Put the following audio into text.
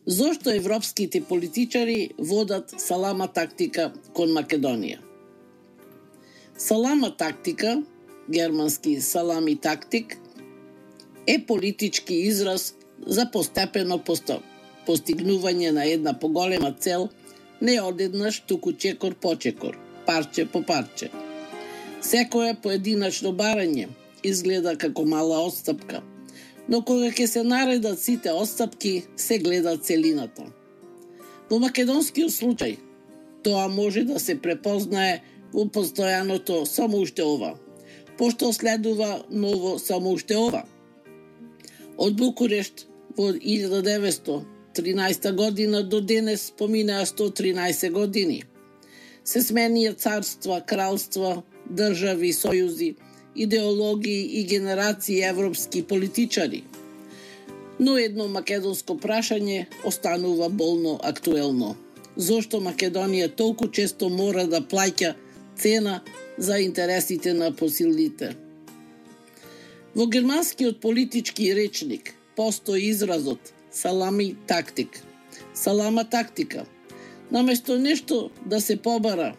Зошто европските политичари водат салама тактика кон Македонија? Салама тактика, германски салами тактик, е политички израз за постепено постигнување на една поголема цел, не одеднаш, туку чекор по чекор, парче по парче. Секое поединачно барање изгледа како мала отстапка, но кога ќе се наредат сите отстапки, се гледа целината. Во македонскиот случај, тоа може да се препознае во постојаното само уште ова, пошто следува ново само уште ова. Од Букурешт во 1913 година до денес поминаа 113 години. Се сменија царства, кралства, држави, сојузи, идеологии и генерации европски политичари. Но едно македонско прашање останува болно актуелно. Зошто Македонија толку често мора да плаќа цена за интересите на посилните? Во германскиот политички речник постои изразот салами тактик. Салама тактика. Наместо нешто да се побара,